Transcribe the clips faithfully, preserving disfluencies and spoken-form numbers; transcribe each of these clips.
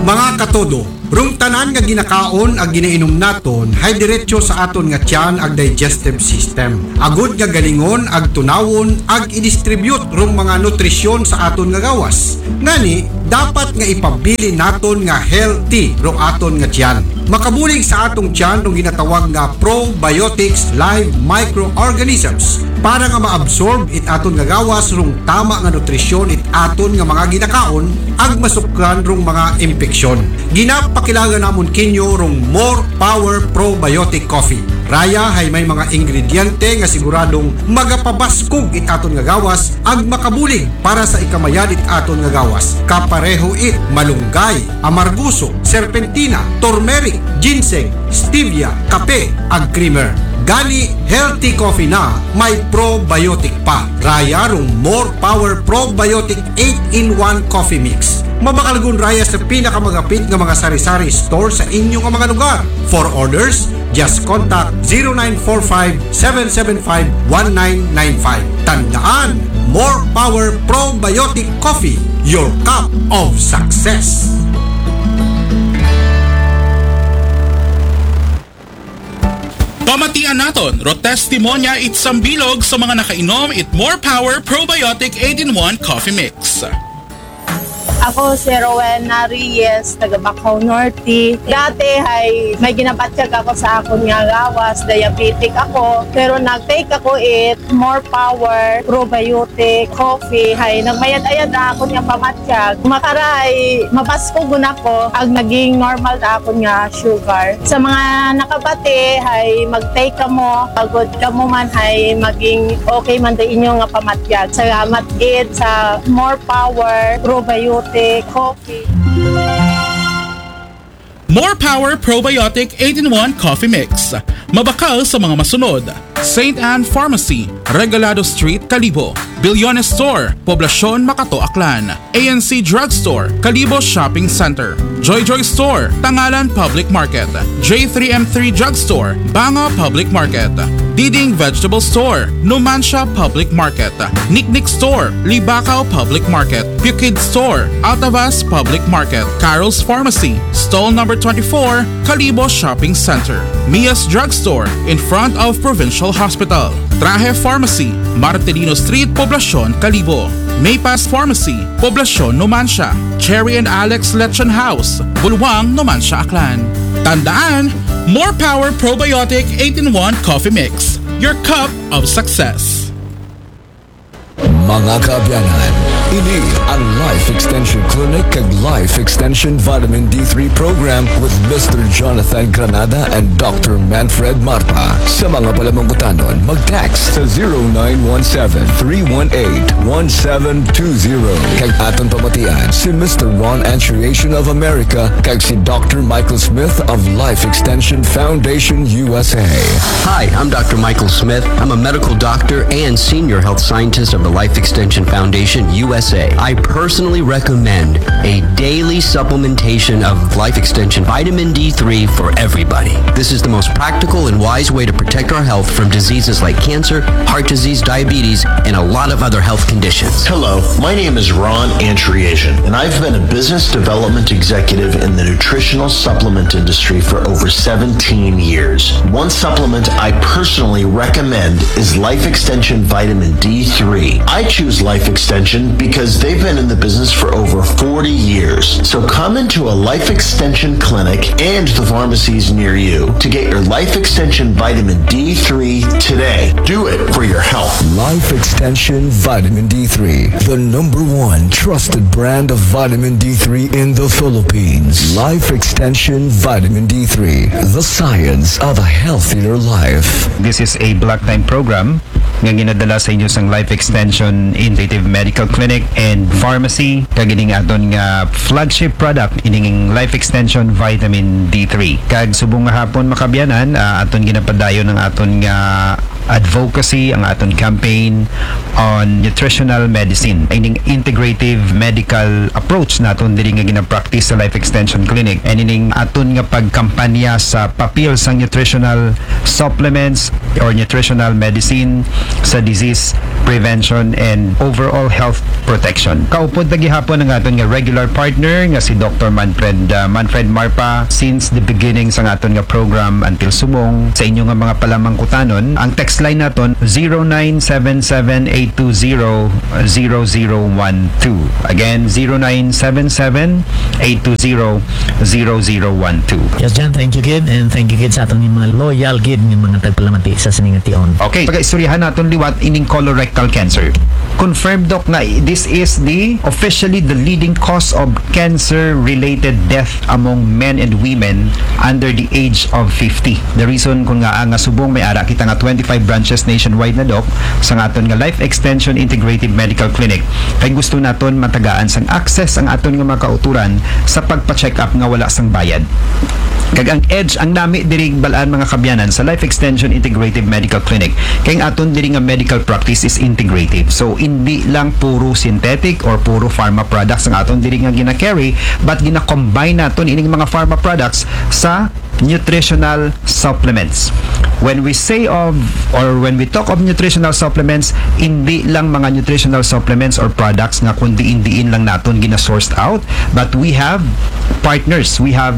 Mga katodo, rung tanan nga ginakaon ag ginainom naton hay diretso sa aton nga tiyan ag digestive system. Agud nga galingon ag tunawon ag i-distribute rung mga nutrisyon sa aton nga gawas. Ngani, dapat nga ipabilin naton nga healthy rung aton nga tiyan. Makabulig sa atong tiyan rung ginatawag nga probiotics live microorganisms para nga ma-absorb it aton nga gawas rung tama nga nutrisyon it aton nga mga ginakaon ag masukran rung mga impeksyon. Ginapakilaga namon kinyo rung More Power Probiotic Coffee. Raya hay may mga ingrediente nga siguradong magapabaskog it aton nga gawas ag makabulig para sa ikamayad it aton nga gawas. Kapareho it malunggay, amarguso, serpentina, turmeric, ginseng, stevia, kape, ag creamer. Gani, healthy coffee na may probiotic pa. Raya rung More Power Probiotic eight-in-one Coffee Mix. Mabakalgun raya sa pinakamagapit nga mga sari-sari store sa inyo nga mga lugar. For orders, just contact zero nine four five, seven seven five, one nine nine five. Tandaan, More Power Probiotic Coffee, your cup of success. Pamatian naton, ro testimonya it sambilog sa mga nakainom it More Power Probiotic eight-in-one Coffee Mix. Ako si Rowena Reyes, taga Bacau Norte. Dati ay may ginabatyag ako sa akon nga gawas, diabetic ako. Pero nag-take ako it More Power Probiotic Coffee. Hay nagmayad-ayad na akon nga pamatyag. Makaray, mabaskog na ako ag naging normal na akon nga sugar. Sa mga nakabati, hay mag-take kamo, agud kamo man hay maging okay man da inyo nga pamatyag. Salamat gid sa More Power Probiotic Coffee. More Power Probiotic eight-in-one Coffee Mix. Mabakal sa mga masunod: Saint Anne Pharmacy, Regalado Street, Kalibo. Bilyones Store, Poblacion, Makato, Aklan. A N C Drugstore, Kalibo Shopping Center. Joy Joy Store, Tangalan Public Market. J three M three Drugstore, Banga Public Market. Diding Vegetable Store, Numancia Public Market. Niknik Store, Libacao Public Market. Pukid Store, Altavas Public Market. Carol's Pharmacy, stall number twenty-four, Kalibo Shopping Center. Mia's Drugstore, in front of Provincial Hospital. Trahe Pharmacy, Martelino Street, Poblacion, Kalibo. Maypass Pharmacy, Poblacion, Numancia. Cherry and Alex Lechon House, Bulwang, Numancia, Aklan. Tandaan, More Power Probiotic eight-in-one Coffee Mix, your cup of success. Mga kaabyanan, ini ang Life Extension Clinic kag Life Extension Vitamin D three Program with Mister Jonathan Granada and Doctor Manfred Marpa. Sa mga palamangkutanon, mag-text sa zero nine one seven, three one eight, one seven two zero. Kag aton pamatian si Mister Ron Antriation of America kag si Doctor Michael Smith of Life Extension Foundation U S A. Hi, I'm Doctor Michael Smith. I'm a medical doctor and senior health scientist of the Life Extension Foundation U S A. I personally recommend a daily supplementation of Life Extension vitamin D three for everybody. This is the most practical and wise way to protect our health from diseases like cancer, heart disease, diabetes, and a lot of other health conditions. Hello, my name is Ron Antriation, and I've been a business development executive in the nutritional supplement industry for over seventeen years. One supplement I personally recommend is Life Extension Vitamin D three. I choose Life Extension because they've been in the business for over forty years. So come into a Life Extension clinic and the pharmacies near you to get your Life Extension Vitamin D three today. Do it for your health. Life Extension Vitamin D three, the number one trusted brand of vitamin D three in the Philippines. Life Extension Vitamin D three, the science of a healthier life. This is a block time program nga ginadala sa inyo sang Life Extension Integrative Medical Clinic and Pharmacy, kag ining aton nga flagship product, ining Life Extension Vitamin D three. Kag subong nga hapon, mga kaabyanan, ah, aton ginapadayon ang aton nga advocacy, ang aton campaign on nutritional medicine. Ining integrative medical approach naton diri nga ginapractice sa Life Extension Clinic. And ining aton nga pagkampanya sa papel sang nutritional supplements or nutritional medicine sa disease prevention and overall health protection. Kaupod ta gihapon ang aton nga regular partner nga si Doctor Manfred, uh, Manfred Marpa since the beginning sa aton nga program until subong. Sa inyo nga mga palamangkutanon, ang text line naton zero nine seven seven eight two zero zero zero one two. Again, zero nine seven seven eight two zero zero zero one two. Yes, Jan, thank you gid, and thank you gid sa aton mga loyal gid nga mga tagpalamati sa sining tion. Okay, pagaistoryahan naton liwat ining colorectal cancer. Confirmed, Doc, na this is the officially the leading cause of cancer-related death among men and women under the age of fifty. The reason kun nga nga subong may ara kita nga twenty-five branches nationwide na, Doc, sa aton nga Life Extension Integrative Medical Clinic, kay gusto naton matagaan sang access ang aton nga mga kauturan sa pagpa-check up nga wala sang bayad. Kag ang edge, ang nami diri bal-an, mga kaabyanan, sa Life Extension Integrative Medical Clinic, kay ang aton diri nga medical practice is integrative. So, hindi lang puro synthetic or puro pharma products ang aton diri nga gina-carry, but gina-combine naton ining mga pharma products sa nutritional supplements. When we say of, or when we talk of nutritional supplements, hindi lang mga nutritional supplements or products nga kun diin-diin lang naton gina-sourced out, but we have partners, we have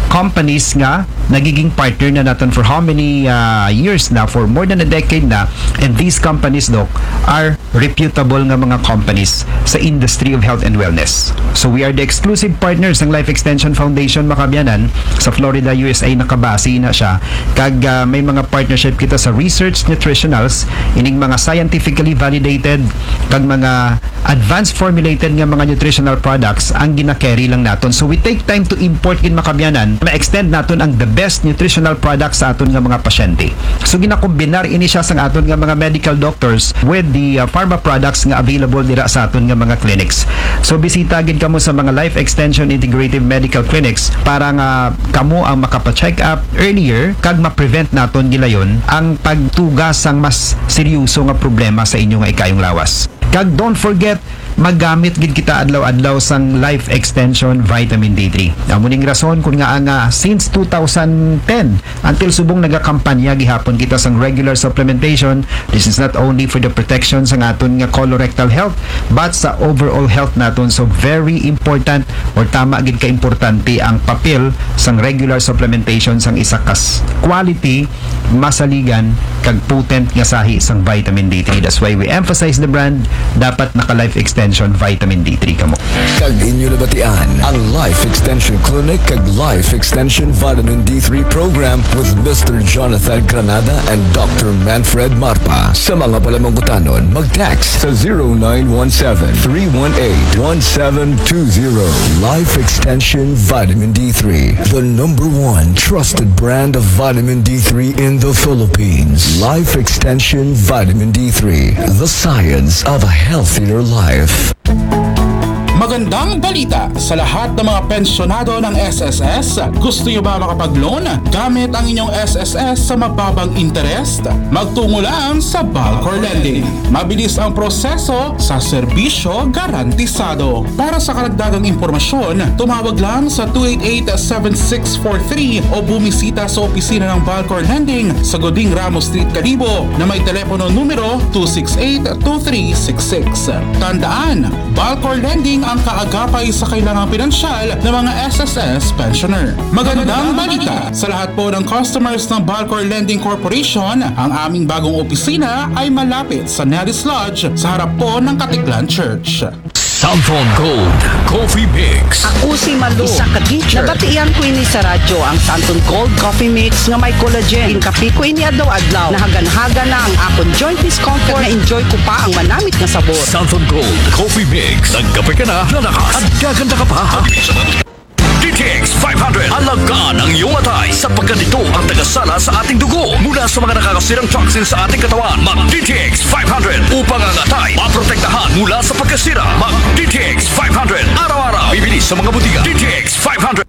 companies nga nagiging partner na naton for how many uh, years na, for more than a decade na, and these companies, Doc, are reputable nga mga companies sa industry of health and wellness. So we are the exclusive partners ng Life Extension Foundation, mga kaabyanan, sa Florida, U S A, nakabase na siya. Kag uh, may mga partnership kita sa research nutritionals, ining mga scientifically validated kag mga advanced formulated nga mga nutritional products ang gina-carry lang naton. So we take time to import gid, mga kaabyanan, ma-extend naton ang the best nutritional products sa aton nga mga pasyente. So ginakombinar ini siya sang aton nga mga medical doctors with the uh, pharma products nga available dira sa aton nga mga clinics. So bisita gid kamo sa mga Life Extension Integrative Medical Clinics para nga kamo ang makapa-check up earlier kag ma-prevent naton gilayon ang pagtuga sang mas seryoso nga problema sa inyo nga ikayong lawas. Kag don't forget, magamit gid kita adlaw-adlaw sang Life Extension Vitamin D three. Amo ning rason kun nga nga since two thousand ten until subong nagakampanya gihapon kita sang regular supplementation. This is not only for the protection sang aton nga colorectal health, but sa overall health naton. So very important, or tama gid ka importante ang papel sang regular supplementation sang isa ka s- quality, masaligan, kag potent nga sahi sang vitamin D three. That's why we emphasize the brand. Dapat naka Life Extension Vitamin D three kamo. Kag inyo nabatian ang Life Extension Clinic kag Life Extension Vitamin D three Program with Mister Jonathan Granada and Doctor Manfred Marpa. Sa mga palamangkutanon, mag-text sa zero nine one seven, three one eight, one seven two zero. Life Extension Vitamin D three, the number one trusted brand of vitamin D three in the Philippines. Life Extension Vitamin D three, the science of a healthier life. Magandang balita sa lahat ng mga pensyonado ng S S S. Gusto nyo ba makapag-loan gamit ang inyong S S S sa mababang interest? Magtungo lang sa Balcor Lending. Mabilis ang proseso, sa serbisyo garantisado. Para sa karagdagang impormasyon, tumawag lang sa two eight eight, seven six four three o bumisita sa opisina ng Balcor Lending sa Goding Ramos Street, Kalibo, na may telepono numero two six eight, two three six six. Tandaan, Balcor Lending ang kaagapay sa kailangang pinansyal ng mga S S S pensioner. Magandang balita sa lahat po ng customers ng Balcor Lending Corporation. Ang aming bagong opisina ay malapit sa Nellis Lodge sa harap po ng Katiklan Church. Santon Gold Coffee Mix. Ako si Malu. Isa ka teacher. Nabatian ko ini sa radyo, ang Santon Gold Coffee Mix nga may collagen. Inkape ko ini adlaw-adlaw. Nahagan-hagan na ang akon joint discomfort. Na-enjoy ko pa ang manamit nga sabor. Santon Gold Coffee Mix. Nagkape ka na, lalakas at gaganda ka pa. D T X five hundred. Alagaan ang iyong atay sapagkat ito ang tagasala sa ating dugo mula sa mga nakakasirang toxin sa ating katawan. Mag D T X five hundred upang ang atay maprotektahan mula sa pagkasira. Mag D T X five hundred araw-araw. Bibili sa mga butika. D T X five hundred.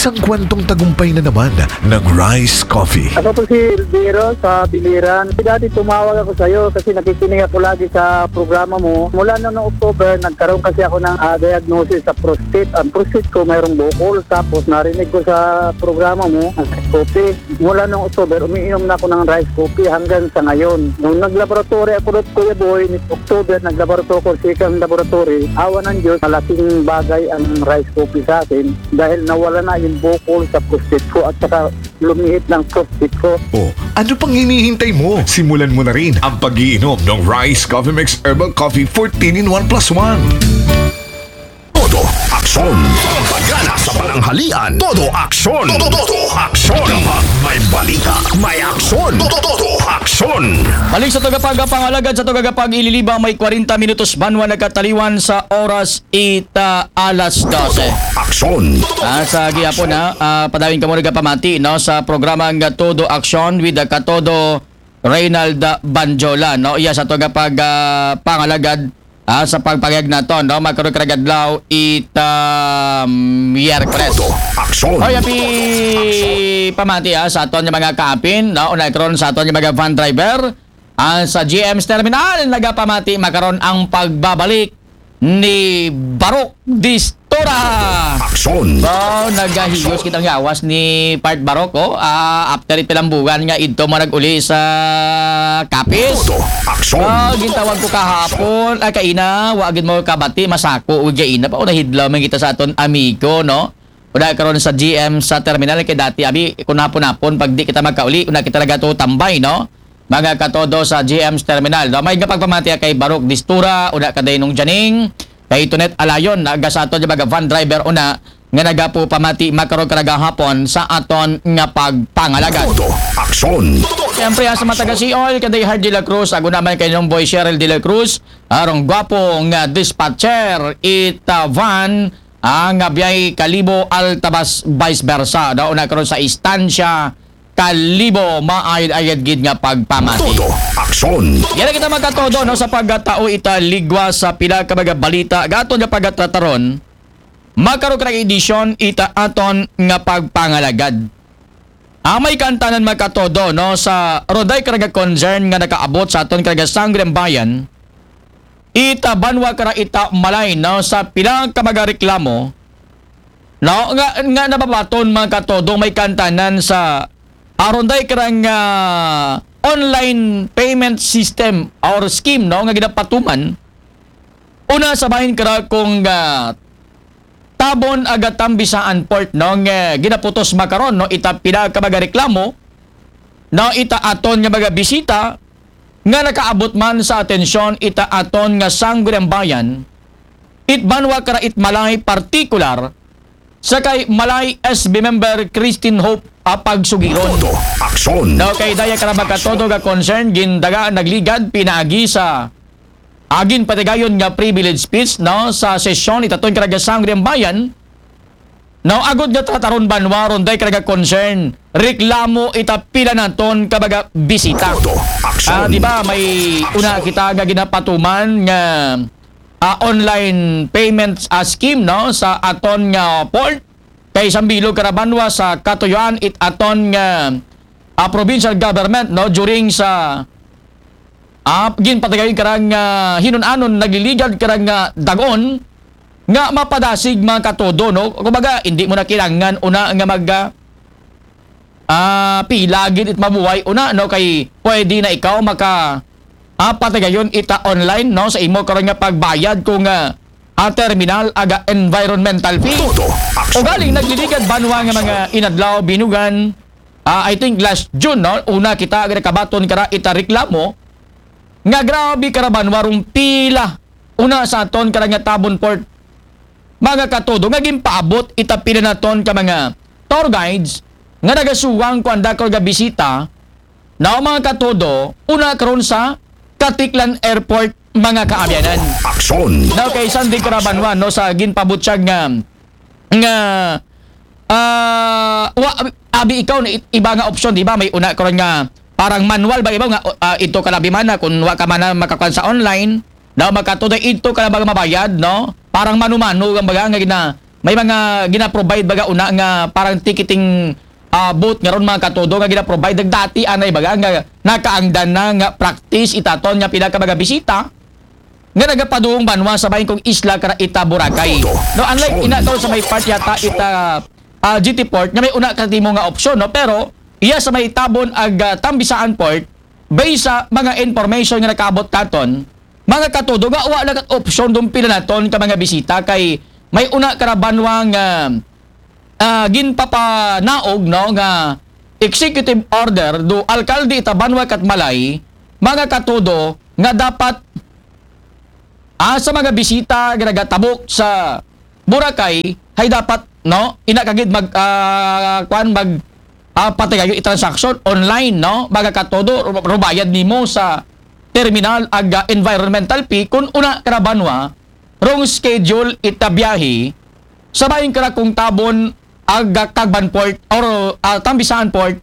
Isang kwentong tagumpay na naman ng Rice Coffee. Ako po si Elviro sa Biliran. Dati tumawag ako sa iyo kasi nakikinig ako lagi sa programa mo. Mula noong October, nagkaroon kasi ako ng ah, diagnosis sa prostate. Ang prostate ko mayroong bukol. Tapos narinig ko sa programa mo, ang Rice Coffee. Mula noong October, umiinom na ako ng Rice Coffee hanggang sa ngayon. Nung naglaboratory ako doon, Kuya Boy, ni October, naglaboratory ako sa isang laboratory. Awa ng Diyos, malaking bagay ang Rice Coffee sa akin dahil nawala na yung bukol sa prostate ko at saka lumiit ng prostate ko. O, ano pang hinihintay mo? Simulan mo na rin ang pag-iinom ng Rice Coffee Mix Herbal Coffee fourteen in one plus one. Todo aksyon. Pagana sa pananghalian. Todo aksyon. Todo, todo aksyon. Kapag may balita, may aksyon. Todo, todo aksyon. Balik sa tagapag pangalagad sa tagapag ililiba may kwarenta minutos banwa nagkataliwan sa oras ita alas dose. Aksyon. Ah, sa gihapon na, ah, padawin ka mo nagapamati, no, sa programa nga Todo Aksyon with the Katodo Reynald Banjola, no? Iya sa tagapag ah, pangalagad ah, sa pagpagayag naton, no? Magkaroon ka adlaw ita Miyerkules. Aksyon. Hoy, happy pamati ah, sa aton nga mga kaapin, no? Una karon sa aton nga mga van driver, ang sa G M's terminal nagapamati makaron ang pagbabalik ni Barok Distura. Aksyon. Wow, nagahiyos kitang yawas ni Part Barok, oh. Ah, after pilang buwan nga idto mo nag-uli sa Capiz. Todo aksyon. Ah, gintawag ko kahapon. Ay, kaina, wa gid mo kabati, masako, ug kaina pa, oh, nahidlaw man kita sa aton amigo, no? Una karon sa G M sa terminal kay dati abi kun hapon-hapon pag di kita magkauli, una kita nagatutambay, no? Mga katodo sa G M's terminal. No? May nga pagpamatiya kay Barok Distura, una ka Dainong Janing, kay Tonet Alayon, naga sa aton nga mga van driver una nga nagapo pamati makaron ka nagahapon sa aton nga pagpangalagad. Todo aksyon. Siyempre, sa mga taga Seoul, kay Day Hard de la Cruz, ako naman kay Nong Boy Cheryl de la Cruz, arong gwapo nga dispatcher, ita van, ang biyay Kalibo Altabas vice versa. Daw na karon sa istansya, Kalibo, maayad-ayad gid nga pagpamati. Todo aksyon. Yan ang kita magkatodo, no, sa pagkatao ita ligwa sa pila ka mga balita. Gaton nga pagkatrataron, makaroon ka ng edisyon ita aton nga pagpangalagad. Amay kantanan magkatodo, no, sa roday ka nga concern nga nakaabot sa aton ka nga sangre ang bayan, ita banwa ka ita malay, no, sa pila ka mga reklamo, no, nga, nga nababaton magkatodo may kantanan sa aron day ka nga online payment system or scheme, no, nga ginapatuman. Una sa bahin ka kung ah, Tabon aga Tambisaan Port, no, nga ginaputos makaron, no, ita pila ka mga reklamo, no, ita aton nga mga bisita nga nakaabot man sa atensyon ita aton nga sangguniang it banwa kara it malay partikular sa kay malay S B member Christine Hope a pagsugiron. Todo aksyon. No, kay daya kara magkatodo nga concern gindaga nagligad pinaagi sa agin patigayon nga privilege speech, no, sa sesyon itaton karagasang Bayan, no, agud nga trataron banwa ron day karaga concern reklamo ita pila naton ka mga bisita. Todo aksyon. Ah, di ba may una kita nga ginapatuman nga ah, online payments ah, scheme, no, sa aton nga port kay sambilog kara banwa sa katuyuan it aton nga ah, provincial government, no, during sa ah, ginpatigayon karang ah, hinun-anon nagliligad karang ah, dagon nga mapadasig mga katodo, no? Kumbaga, hindi mo na kailangan una nga mag ah, ah, pila gid it mabuhay una, no, kay pwede na ikaw maka ah, patigayon ita online, no, sa imo karon nga pagbayad kung ah, ah, terminal aga environmental fee. Todo aksyon. Ugaling nagliligad banwa nga mga inadlaw binugan, ah, I think last June, no, una kita nga nakabaton kara ita reklamo nga grabe kara banwa rong pila una sa aton kara nga Tabon Port, mga katodo, nga ginpaabot ita pila naton ka mga tour guides nga nagasuwang kuan dakol nga bisita, no, mga katodo, una karon sa Caticlan Airport, mga kaabyanan. Aksyon. No, kay Sandy Carabanwan, no, sa ginpabutyag nga nga ah, wa, abi ikaw na it- iba nga option, di ba? May una karon nga parang manual ba iba nga ah, ito ka labi man na kung wa ka man na makakuan sa online, daw magkatuday ito ka lang mabayad, no? Parang mano-mano ang baga nga gina may mga gina-provide baga una nga parang ticketing, ah, booth nga ron, mga katodo, nga gina-provide. Nagdati anay baga nga nakaangdan na nga practice itaton nga pila ka mga bisita nga nagapadung banwa sa bahin kong isla kara ita Boracay. No, unlike ina daw sa may part yata ita, ah, G T Port nga may una ka timo nga opsyon, no? Pero iya sa may Tabon ag, ah, Tambisaan Port, based sa mga information nga nakaabot katon, mga katodo, nga wa lang kat opsyon dun pila naton ka mga bisita kay may una kara banwa nga, ah, ginpapanaog, no, nga executive order do alkalde ita banwa kat Malay, mga katodo, nga dapat, ah, sa mga bisita nga nagatabok sa Boracay, hay dapat, no, ina kagid mag, ah, kwan, mag, ah, patigayon i-transaction online, no, mga katodo, ru-, rubayad nimo sa terminal ag, ah, environmental fee kun una kara banwa rong schedule ita biyahe sa bahin kara kong Tabon ag, ah, Tagban Port or, ah, Tambisaan Port,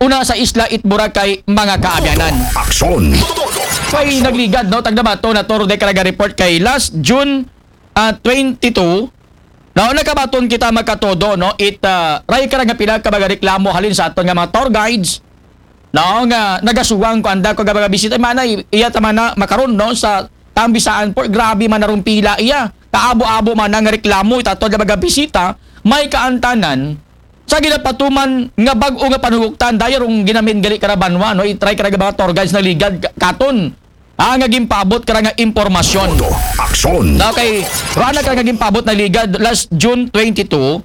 una sa isla it Boracay, mga kaabyanan. Aksyon. May nagligad, no, tagna ba to na toro de karaga report kay last June, ah, twenty-two, no, nakabaton kita, mga katodo, no, it, ah, ray kara nga pila ka mga reklamo halin sa aton nga mga tour guides, no, nga nagasuwang ko anda ko nga mga bisita, mana i-, iya ta mana makaron, no, sa Tambisaan Port, grabe man narong pila iya. Kaabo-abo man nga reklamo itaton nga mga bisita, may kaantanan sa ginapatuman nga bag-o nga panuguktan, daya rong ginamin gali kara banwa, no, i-try kara mga tour guides na ligad ka-, katon. Ah, nga ginpaabot kara nga impormasyon. Aksyon. Okay, rana kara nga ginpaabot na ligad last June twenty-two,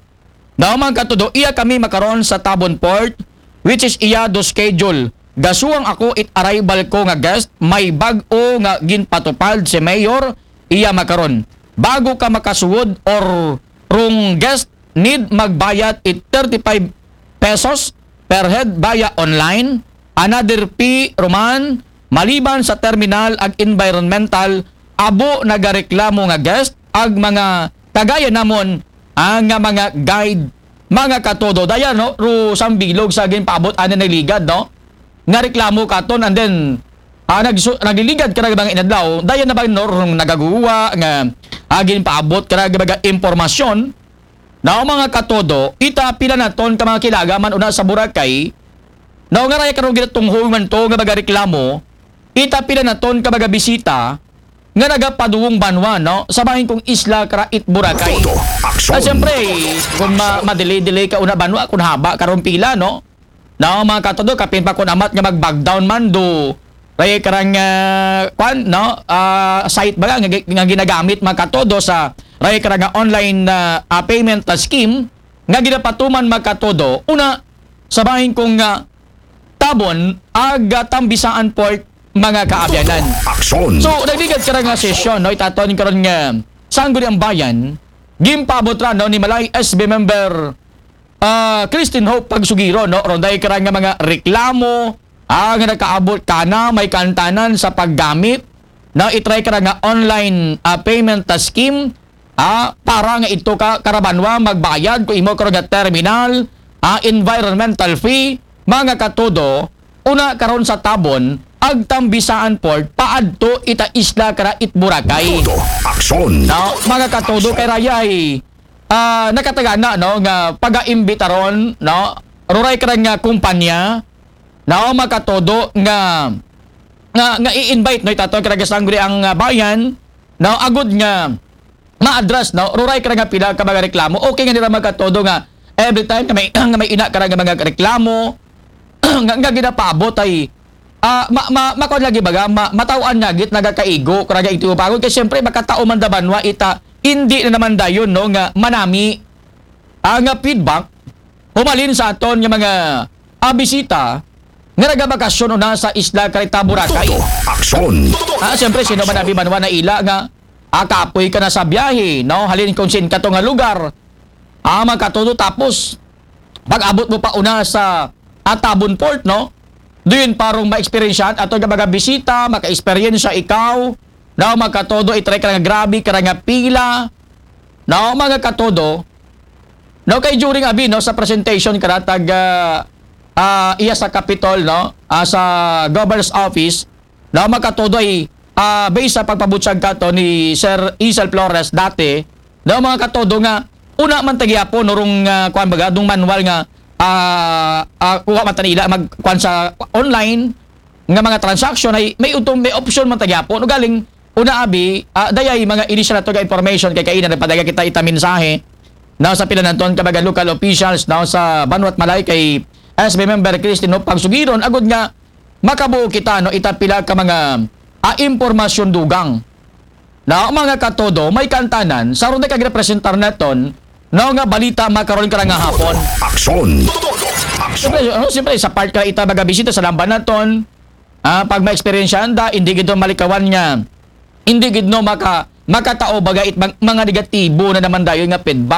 no, mga katodo, iya kami makaron sa Tabon Port, which is iya do schedule. Gasuwang ako it arrival ko nga guest, may bag-o nga ginpatupad si Mayor, iya makaron. Bago ka makasuwod or rong guest, need magbayad it thirty-five pesos per head via online, another fee ruman, maliban sa terminal ag environmental, abo nagareklamo nga guest, ag mga kagaya namon, ah, nga mga guide, mga katodo. Daya, no, ru sambilog sa ginpaabot ani na ligad, no? Nga reklamo katon, and then, ah, nagsu-, nagliligad ka na mga inadlaw, daya na ba, no, rong nagaguwa nga, ah, ginpaabot ka na mga impormasyon, na mga katodo, ita pila naton ka mga kilaga man una sa Boracay, na nga raya karong ginatunghong man to nga mga reklamo, ita pila naton ka mga bisita, nga nagapaduwong banwa, no? Sa bahin kong isla kara it Boracay. Todo aksyon. Ah, siyempre, kung ma-, ma-delay-delay ka una banwa, kung haba karong pila, no? No, mga katodo, kapin pa kung amat nga mag-back down man do, ray karang, ah, kwan, no? Ah, site ba nga, nga ginagamit, mga katodo, sa ray karang, ah, online na, ah, payment, ah, scheme, nga ginapatuman, mga katodo, una, sa bahin kong, ah, Tabon, ag, ah, Tambisaan Port, mga kaabyanan. Aksyon. So, nagligad kara nga sesyon, no? Itaton karon nga Sangguniang Bayan, ginpaabot ra, no, ni Malay S B member, ah, Christine Hope Pagsugiro, no? Ronday kara nga mga reklamo, ah, nga nakaabot kana may kantanan sa paggamit, no? I-try kara nga online, ah, payment, ah, scheme, ah, para nga ito ka kara banwa magbayad ko imo karon nga terminal, ah, environmental fee, mga katodo, una karon sa Tabon, ag Tambisaan Port, paadto ita isla kara it Boracay. Todo aksyon. No, mga katodo, kay rayay, ah, nakatagana, no, nga pagaimbitaron, no, ruray kara nga kumpanya, no, mga katodo, nga, nga, nga i-invite, no, itaton kara nga Sangguniang, ah, Bayan, no, agud nga ma-address, no? Ruray kara nga pila ka mga reklamo. Okay nga nira, mga katodo, nga every time nga may, nga may ina kara nga mga reklamo, nga, nga ginapaabot ay, ah, ma-, ma-, makuan lagi baga, ma-, mataw-an nga git nagakaigo kara nga ito pagod. Kay siyempre, makatao man da banwa ita, hindi na naman dayon, no, nga manami, ah, nga feedback, humalin sa aton nga mga, ah, bisita, nga nagabakasyon una sa isla kara ita Boracay. Todo aksyon. Ah, siyempre, sino man abi banwa na ila nga, ah, kapoy ka na sa biyahe, no? Halin kung sin kato nga lugar, ah, mga katodo, tapos, pag-abot mo pa una sa, ah, Tabon Port, no? Doon parang ma-experience ato nga mga bisita, maka-experience ikaw, no? Mga katodo, i-try ka nga grabe, ka nga pila, no? Mga katodo, no? Kay during abi, no, sa presentation ka na tag, ah, ah, iya sa Capitol, no? Ah, sa Governor's Office, no, mga katodo, ay, ah, based sa pagpabutyag kato ni Sir Isel Flores dati, no, mga katodo, nga una man ta gihapon, urong, ah, kuan baga, dung manual nga, ah, ah, kuha man ta nila mag, kuan sa online, nga mga transaction ay may utom, may option man ta gihapon. Ugaling, una abi, ah, dayay mga initial nato nga information kay kaina nagpadala kita ita mensahe. Now sa pila naton ka mga local officials now sa Banwat Malay kay S B member Christine Hope pagsugiron agud nga makabuo kita no ita pila ka mga, ah, impormasyon dugang. Na mga katodo, may kantanan, sa ron ka representar naton, no nga balita makaron ka nga hapon. Aksyon. Aksyon. Siyempre, ano, siyempre, sa part ka ita mga bisita sa lamban naton, ah, pag ma-experience anda, hindi gid malikawan nga, hindi gid no maka, makatao baga it mga, mga negatibo na naman dayon nga feedback.